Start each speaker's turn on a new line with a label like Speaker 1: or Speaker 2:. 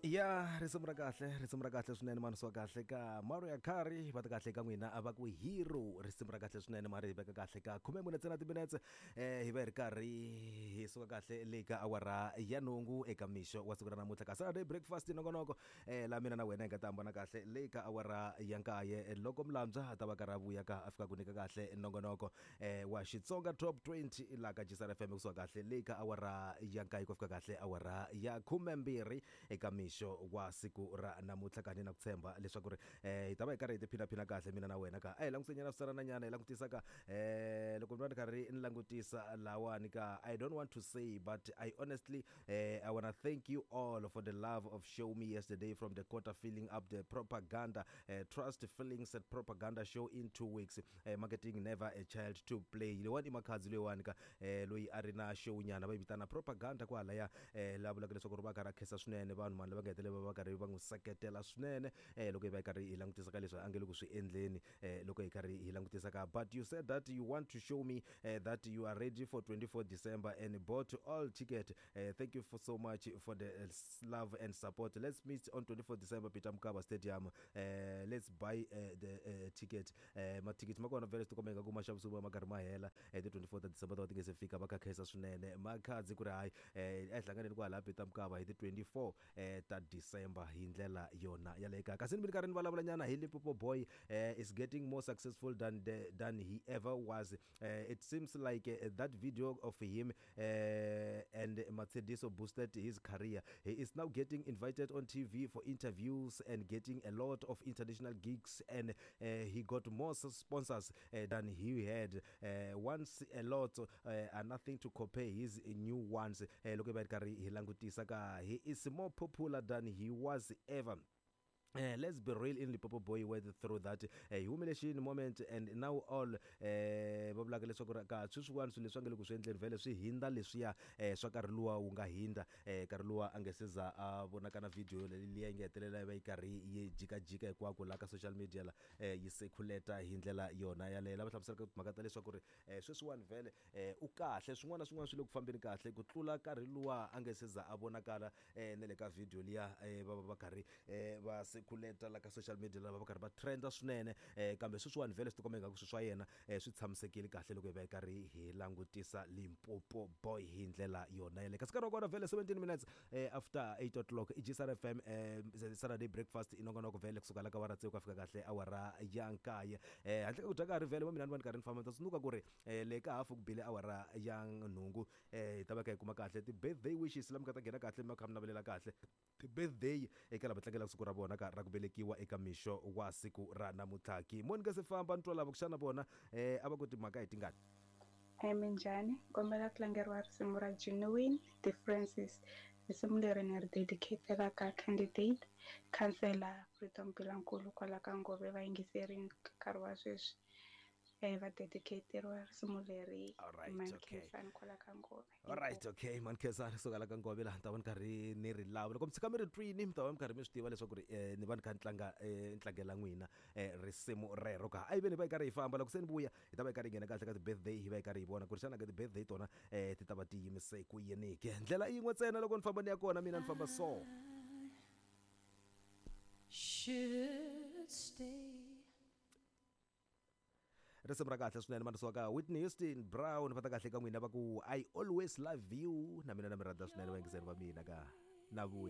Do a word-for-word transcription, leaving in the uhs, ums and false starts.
Speaker 1: Ya risimu ra kahle, risimu ra kahle swinene, mani swa kahle ka Mariah Carey, va ta kahle ka n'wina a va ku Hero. Risimu ra kahle swinene, mari hi veka kahle ka khume mune ntsena timinetse, eh hi va hi ri karhi hi suka kahle le ka awara ya nhungu eka mixo wa siku ra namuntlha ka Saturday Breakfast nongonoko, eh la mina na wena hi nga ta hambana kahle le ka awara ya nkaye loko Mlambya a ta va karhi a vuya ka a fika ku nyika kahle nongonoko eh wa Xitsonga Top twenty la ka G S R F M kusuka kahle le ka awara ya nkaye ku fika kahle awara ya khumembirhi eka mixo wa siku ra namuntlha. Kani na ku tshemba leswaku ri eh hi ta va hi karhi hi tiphinaphina kahle mina na wena ka a hi langutisanyana swisalananyana hi langutisa ka eh loko ni va ni karhi ni langutisa lawani ka I don't want to say, but I honestly, eh, I wanna thank you all for the love of show me yesterday from the quarter filling up the propaganda, uh, trust feelings at propaganda show in two weeks. uh, marketing never a child to play. Leyiwani i Makhadzi loyiwani ka eh, loyi a ri na show nyana va yi vitana Propaganda kwalaya, eh, la vulaka leswaku ri va karhi a khensa swinene vanhu mani lava nga hetelela va karhi va n'wi seketela swinene, eh, loko hi va hi karhi hi langutisa ka leswi a nge le ku swi endleni, eh, loko hi karhi hi langutisa ka but you said that you want to show me uh, that you are ready for twenty-four December and bought all ticket. uh, thank you for so much for the uh, love and support. Let's meet on twenty-four December, Peter Mokaba Stadium. uh, let's buy uh, the uh, ticket. uh, mathikithi ma kona vhele, swi tikomba ingaku ma xavisiwa ma karhi ma hela. eh, ti twenty-four ta December ta va ti nge se fika. Va kha khensa swinene Makhadzi ku ri hayi, eh, a hi hlanganeni kwala Peter Mokaba hi ti twenty-four eh, ta December hi ndlela yona yaleyo kaya. Kasi ni mi karhi ni vulavula nyana hi Limpopo Boy, eh, is getting more successful than the, than he ever was. uh, it seems like uh, that video of him uh, and Matsediso boosted his career. He is now getting invited on T V for interviews and getting a lot of international gigs, and uh, he got more sponsors uh, than he had uh, once. A lot uh, are nothing to compare his new ones. uh, loko hi va hi karhi hi langutisa ka he is more popular than he was ever. Uh, let's be real, in Limpopo Boy went through that uh, humiliation moment and now all eh va vulaka leswaku ri ka sweswiwani swilo leswi a nge le ku swi endleni vhele swi hindza leswiya eh swa nkarhi luwa wu nga hindza, eh nkarhi luwa a nge se za a vonaka na video liya yi nga hetelela yi va yi karhi yi jikajika hinkwako la ka social media la, eh yi circulate hi ndlela yona yaleyo. Lava hlamuselaka timhaka ta leswaku ri eh sweswiwani vhele eh u kahle, swin'wana na swin'wana swi le ku fambeni kahle ku tlula nkarhi luwa a nge se za a vonakala eh na le ka video liya, eh va va va karhi eh va circulate la ka social media, lava va karhi va trenda swinene, eh kambe sweswiwani vhele swi tikomba ingaku swilo swa yena eh swi tshamisekile kahle loko hi va hi karhi hi langutisa Limpopo Boy hi ndlela yona yaleyo. Kasi nkarhi wa kona vhele seventeen minutes eh, after eight o'clock, i G S R F M, eh, Saturday Breakfast inongonoko vhele kusuka la ka awara tsevu ku fika kahle awara ya nkaye. eh handle ka ku dya nkarhi vhele wa mina ni va ni karhi ni famba, ni ta tsundzuka ku ri eh, le ka hafu ku bile awara ya nhungu, eh hi ta va kha hi kuma kahle ti-birthday wishes la mi nga ta nghena kahle mi kha mi navelela kahle ti-birthday eka lava tlangelaka siku ra vona ka ra ku velekiwa eka mixo wa siku ra namuntlha. Ki mo ni nga se famba ni twa lava ku xana vona eh a va ku timhaka hi tingani.
Speaker 2: Hi, minjhani? Kombela ku tlangeriwa risimu ra Genuine Differences. Risimu leri ni ri dedicatela ka candidate councillor Freedom Bilankulu kwala ka Ngove, va yingiserini nkarhi wa sweswi. Eh va dedicateriwa risimu leri.
Speaker 1: Alright, okay.
Speaker 2: Mankhensani kwala ka Ngove.
Speaker 1: Alright, okay, Mankhensani kusuka la ka Ngove laha ni ta va ni karhi ni ri lava. Loko mi tshika mi ri twini, mi ta va mi karhi mi swi tiva leswaku ri eh, ni va ni kha ni tlanga eh, ni tlangela n'wina eh, risimu rero ka. A yi ve ni va yi karhi hi famba, loko se ni vuya hi ta va hi karhi hi nghena kahle ka ti-birthday, hi va hi karhi hi vona ku ri xana ka ti-birthday tona eh, ti ta va ti yimise ku yini ke. Ndlela yin'we ntsena loko ni famba ni ya kona, mina ni famba so.
Speaker 3: Should stay.
Speaker 1: Risimu ra kahle swinene manisiwa ka Whitney Houston Brown, va ta kahle ka n'wina va ku I Always Love You. Na mina na mi rhandza swinene vayingiseri va mina ka na vuya.